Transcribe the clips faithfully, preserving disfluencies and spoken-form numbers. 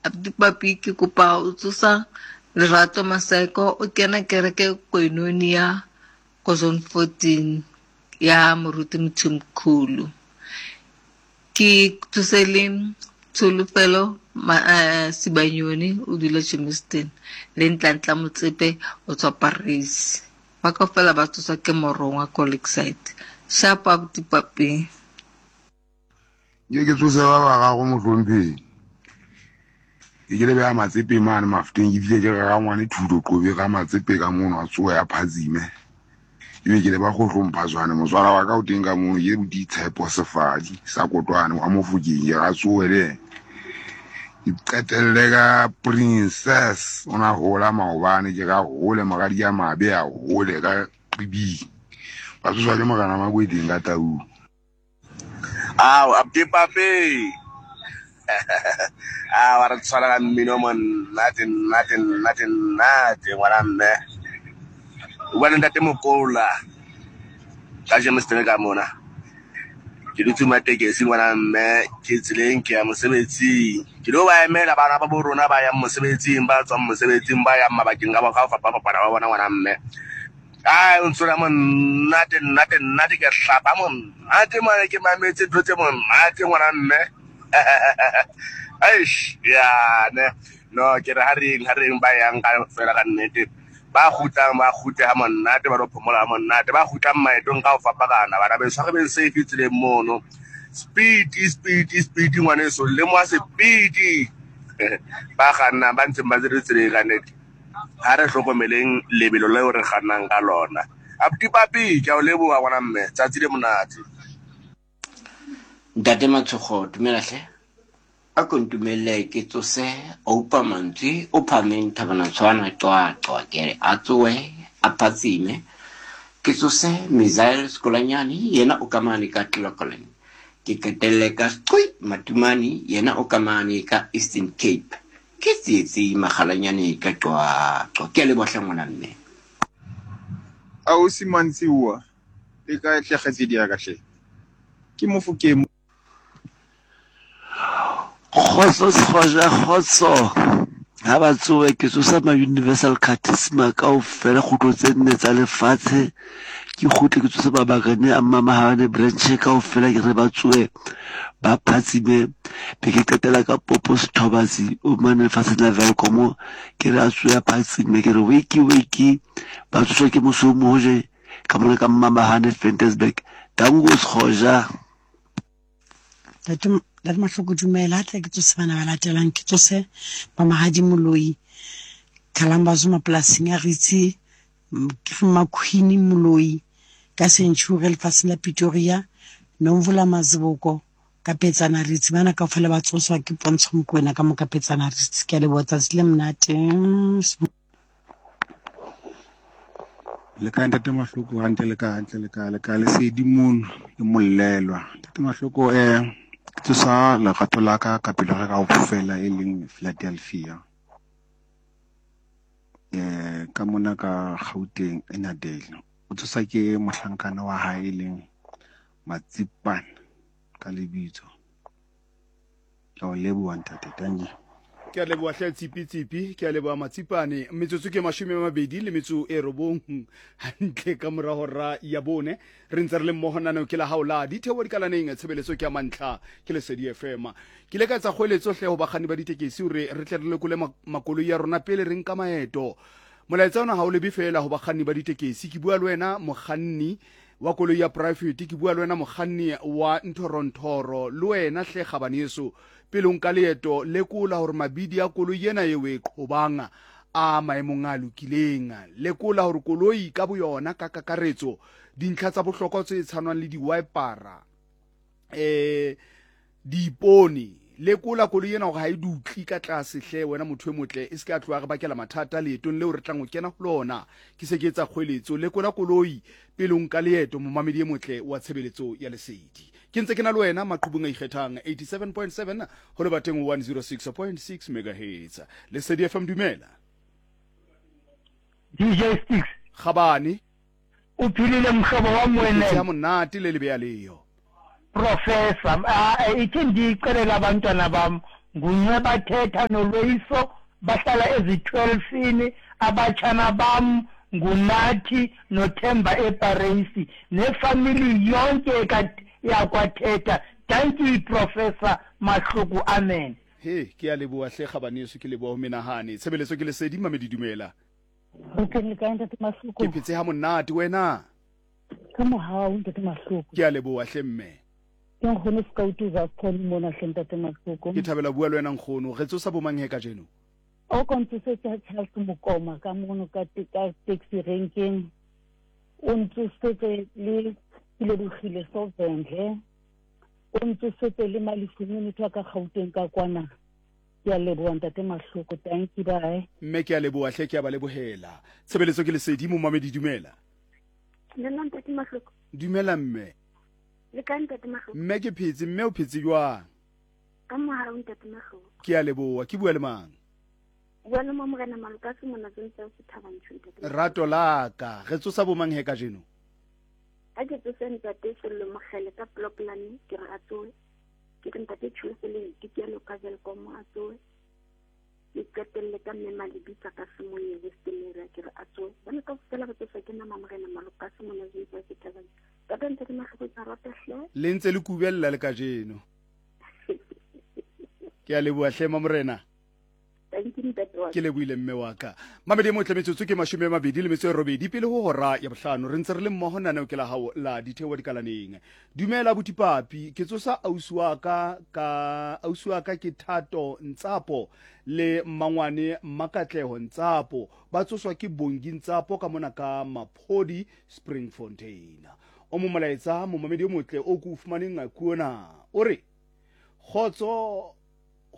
Abuti Papi ke kopa o tsosa Lerato Maseko o kena kereke Koinonia ko zone fourteen ya Moruti Mthimkhulu. Ke tsose le Tsholofelo eh, Sibanyoni o dula Germiston le Ntlantla Motsepe o tswa Paris. Ba kaofela ba tsoswa ke Morongwa ko Lakeside. Sharp abuti Papi. Ke ke tsose ba bararo mohlomphehi. Ke ke le beha Matsepe mane Mafeteng, ke fihle ke re rangwane thuto qobe ka Matsepe ka mono a tsoha ya phatsime. Ebe ke le ba kgohlompha jwane motswala wa ka o teng ka mono ke Ditshepo Sefadi sa Kotwane wa Mofokeng ke ra tsohe le yena. Ke qetelle ka Princess o na hola maobane ke ra hole moradi ya mabe a hole ka Qibing. Ba tsoswa ke morena Makweteng ka Taung. Ao, abuti Papi. Ao, a re tshwara ka mmino monate, nnate, nnate, nnate, ngwana mme. O bua le ntate Mokola ka Germiston ka mona. Ke dutse matekesi ngwana mme, ke tseleng ke ya mosebetsing. Ke lo ba emela bana ba bo rona ba yang mosebetsing, ba tswang mosebetsing, ba yang mabakeng ka ka ho fapafapana ba bona ngwana mme. Ai, o ntshwara monate, nnate, nnate, ke hlapa monate mane ke mametse ntho tse monate ngwana mme. Eish, ya ne. No, ke re ha reng, ha reng ba yang ka fela ka nnete. Ba kgutlang, ba kgutle ha monate, ba lo phomola ha monate. Ba kgutlang maetong ka ho fapakana, bana beso, ha re beng safe tseleng mono. Speed, speed, speed ngwaneso, lemoha speed. Ba kgannang, ba ntseng ba tsere tseleng ka nnete. Ha re hlokomeleng lebelo leo re kgannang ka lona. Abuti Papi, ke a o leboha ngwana mme, tsatsi le monate. Ntate Matshogo, dumela hle. A ko ntumelle ke tsose Oupa Mantswe o phameng Thabana Tshwana Qwaqwa ke re a tsohe a phatsime. Ke tsose Misael Skolanyane yena o ka mane ka Clocolan. Ke qetelle ka Squi Matumane yena o ka mane ka Eastern Cape. Ke Tsietsi Makgalanyane ka Qwaqwa. Ke a leboha hle ngwana mme. Ausi Mantsiwa, le kae hle kgaitsedi ya ka hle? Ke Mofokeng. Kgotso Sekgoja, kgotso. Ha ba tsohe ke tsosa ma Universal Charisma kaofela kgutlo tse nne tsa lefatshe. Ke kgutle ke tsose mabakane a Mmamahane branch kaofela ke re ba tsohe ba phatsime. Be ke qetela ka Popo Sethobatsi o mane lefatsheng la Welkom ke re a tsohe a phatsime ke re wiki wiki ba tsoswa ke moso o moje ka mona ka Mmamahane Ventersburg. Danko Sekgoja. Ntate Ntate Mahloko dumela, tle ke tsose bana ba latelang, ke tsose ba Mahadi Moloi, Kalambazo mapolasing a Ritsi, ke Maqueen Moloi ka Century lefatsheng la Pretoria, Nomvula Maziboko ka Petsana Ritsi. Bana kaofela ba tsoswa ke Pontsho Mokoena ka mo ka Petsana Ritsi. Ke a leboha, tsatsi le monate. Le kae ntate Mahloko? Hantle le kae? Hantle le kae? Le kae? Lesedi mono ke mollelwa. Ntate Mahloko, eh ke tsosa lerato la ka ka pelo ya ka kaofela e leng Philadelphia. Eh ka mona ka Gauteng Ennerdale. O tsosa ke mohlankana wa hae e leng Matsipane ka lebitso. Ke a o leboha ntate, dankie. Ke a leboha hle Tsipi Tsipi, ke a leboha Matsipane. Metsotso ke mashome a mabedi le metso e robong hantle ka mora hora ya bone. Re ntse re le mmoho naneo ke la hao la ditheo dikalaneng, tshebeletso ke ya mantlha ke Lesedi F M. Ke ile ka etsa kgoeletso hle ho bakganni ba ditekesi hore re tle re lekole makoloi ya rona pele re nka maeto. Molaetsa ona ha o lebe feela ho bakganni ba ditekesi. Ke bua le wena mokganni wa koloi ya private, ke bua le wena mokganni wa nthorontoro, le wena hle kgabaneso pele o nka leeto lekola hore mabidi a koloi ena eo e qhobang a maemong a lokileng. Lekola hore koloi ka boyona ka kakaretso dintlha tsa bohlokwa tse tshwanang le di-wipera, eh diipone. Lekola koloi ena hore ha e dutle ka tlase hle wena motho e motle, e se ke a tloha re bakela mathata leetong leo re tlang ho kena ho lona. Ke se ke etsa kgoeletso, lekola koloi pele o nka leeto, momamedi e motle wa tshebeletso ya Lesedi. Ke ntse ke na le wena maqhubung a ikgethang eighty-seven point seven ho lebateng one oh six point six megahertz. Lesedi F M dumela. D J Sticks. Kgabane. O philile mhlobo wa mwene. Ke monate le lebeya leyo. Professor, ah ithi ndicelela abantwana bam nguNceba Thetha noLoyiso bahlala ezitwelfini. Abatshana bam nguNathi noThemba eParisi nefamily yonke yakwaThetha. Thank you Professor Mahluku, amen. He ke a leboha hle gabaneso, ke leboha ho menahane. Tshebeletso ke lesedi mamedi, dumela. Ke phetse ha monate wena. Ka mohau ntate Mahloko. Ke a leboha hle mme. Ke nkgono Scout za khona mona hle ntate Mahloko. Ke thabela bua le wena nkgono. Re tsosa bo mang he kajeno? O kontsosetse Charles Mokoma ka mono ka ka taxi renkeng. O ntsosetse le Kilebogile Sovendle. O ntsosetse le Malifuni motho wa ka Gauteng ka kwana. Ke a leboha ntate Mahloko, thank you, bye. Mme ke a leboha hle, ke a ba lebohela. Tshebeletso ke lesedi momamedi, dumela. Dumela ntate Mahloko. Dumela mme. Le kae ntate Mahloko? Mme ke phetse, mme o phetse jwang? Ka mohau ntate Mahloko. Ke a leboha, ke bua le mang? Bua le Morena Malokase mona tse o Thabanchu ntate. Rato la ka, re tsosa bo mang he kajeno? Ha ke tsose ntate Sello Mokgele ka Ploplane, ke re a tsoe. Ke re ntate Tshulofelo ke ke lo ka Welkom a tsoe. Ke qetelle ka mme Malebitsa ka Semoye Western area, ke re a tsoe. Bona ka fela ba tsosa ke nama Morena Malokase mona tse Thabanchu. Ka ntate Mahloko tsa rata hle. Le ntse le kubella le kajeno. Ke a leboha hle Morena. Ke lebohile mme wa ka. Mamedi motle, metsotso ke mashome a mabedi le metso e robedi pele ho hora ya bohlano. Re ntse re le mmoho naneo ke la hao la ditheo dikalaneng. Dumela botipapi, ke tsosa ausi wa ka ka ausi wa ka ke Thato Ntsapo le Mmangwane Mmakatleho Ntsapo. Ba tsoswa ke Bongi Ntsapo ka mona ka Maphodi Springfontein. O mo molaetsa momamedi o motle o ko fumaneng kuona. O re kgotso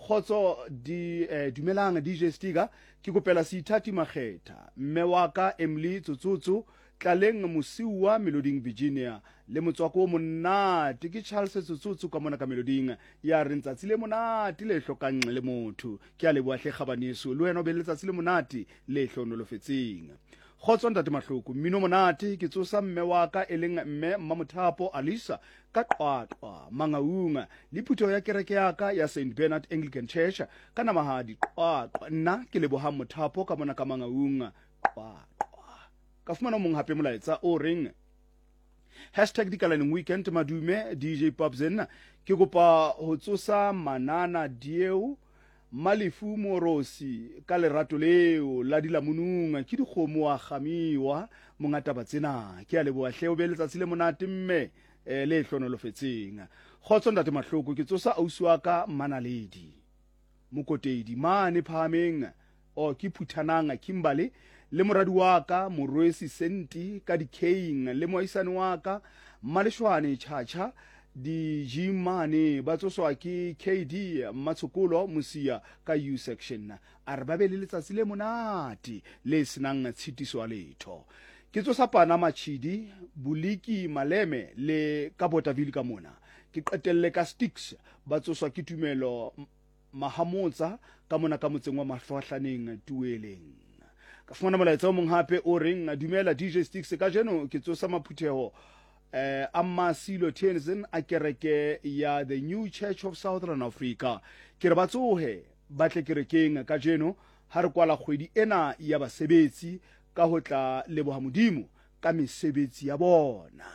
Khotso di eh, dumelang D J Stiga, ke kopela Seithati Makgetha, mme wa ka Emily Tsotsotso, Tlaleng Mosiwa Meloding Virginia, le motswako o monate ke Charles Tsotsotso ka mona ka Meloding, ya re ntsatsi le monate le hlokang le motho. Ke a leboha hle gabaneso, le wena o be le letsatsi le monate le hlonolofetseng. Kgotso ntate Mahloko, mmino monate ke tsosa mme wa ka e leng mme Mmamothapo Alisa ka Qwaqwa Mangaung le phutheho ya kereke ya ka ya Saint Bernard Anglican Church ka Namahadi Qwaqwa. Nna ke leboha Mothapo ka mona ka Mangaung Qwaqwa. Ka fumana mong hape molaetsa o reng hashtag dikalaneng weekend madume D J Popzen, ke kopa ho tsosa Manana Dieu Malefu Morosi ka lerato leo la dilamonung ke dikgomo wa gamiwa monga taba tsena. Ke a leboha hle, o be letsatsi le monate mme le hlonolofetseng. Kgotso ntate Mahloko, ke tsosa ausi wa ka Manaledi Mokotedi mane phahameng o ke Phuthanang Kimberley le moradi wa ka Morwesi Senti ka Dikeng le moaisane wa ka Maleshwane Chacha Dijimane, ba tsoswa ke K D Matshokolo Mosia ka U section. A re ba be le letsatsi le monate le senang tshitiso ya letho. Ke tsosa Pana Machidi Boliki Maleme le ka Botaville ka mona. Ke qetelle ka Sticks, ba tsoswa ke Tumelo Mahamotsa ka mona ka motseng wa Mahlwahlaneng Tueleng. Ka fumana molaetsa o mong hape o reng dumela D J Sticks, kajeno ke tsosa maphutheho eh Amasilo Tenzin a kereke ya The New Church of Southern Africa. Ke re ba tsohe ba tle kerekeng kajeno ha re kwala kgwedi ena ya basebetsi ka ho tla leboha Modimo ka mesebetsi ya bona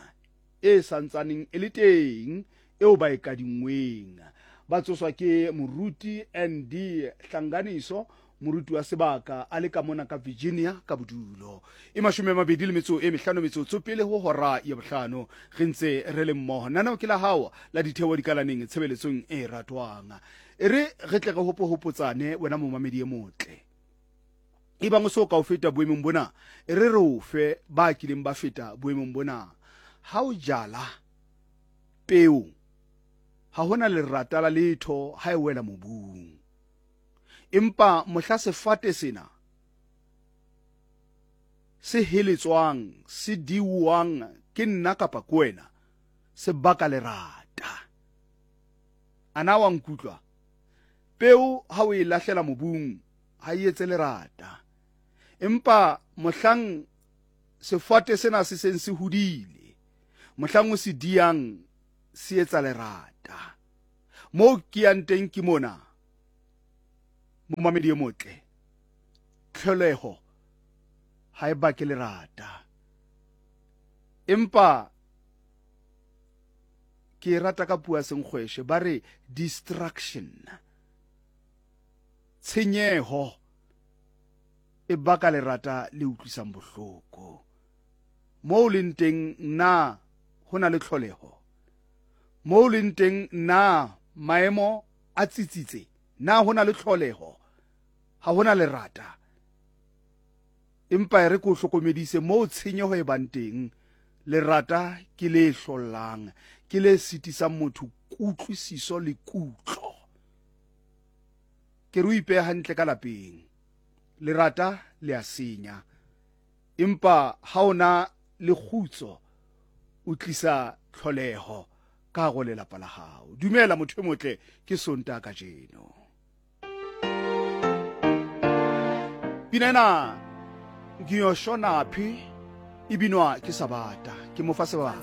e santsaneng e le teng eo ba e kadingweng. Ba tsoswa ke moruti N D Hlanganiso, moruti wa sebaka a le ka mona ka Virginia ka bodulo. E mashome a mabedi le metso e mehlano metsotso pele ho hora ya bohlano. Re ntse re le mmoho. Nanao ke la hao la ditheo dikalaneng tshebeletsong e ratwang. E re re tle re hopohopotsane wena momamedi e motle. E bang o so ka o feta boemong bona, e re re o fe ba kileng ba feta boemong bona. Ha o jala peo, ha hona lerata la letho ha e wela mobung. Empa mohla sefate sena se heletswang, se diuwang ke nna kapa ke wena, se baka lerata. Ana wa nkutlwa? Peo ha o e lahlela mobung ha e etse lerata. Empa mohlang sefate sena se seng se hodile, mohlang o se diang se etsa lerata. Moo ke yang teng ke mona. Momamedi e motle, tlholeho ha e bake lerata, empa ke e rata ka puo ya senkgweshe ba re distraction. Tshenyeho e baka lerata le utlwisang bohloko. Moo leng teng na ho na le tlholeho? Moo leng teng na maemo a tsitsitse? Na ho na le tlholeho? Ha ho na lerata. Empa e re ke o hlokomedise moo tshenyeho e bang teng, lerata ke le hlollang, ke le sitisang motho kutlwisiso le kutlo. Ke re o ipehe hantle ka lapeng. Lerata le a senya, empa ha o na le kgutso o tlisa tlholeho ka hare ho lelapa la hao. Dumela motho e motle, ke Sontaha kajeno. Pina ena Ngiyoshonaphi e binwa ke Sabata, ke mo fa sebaka.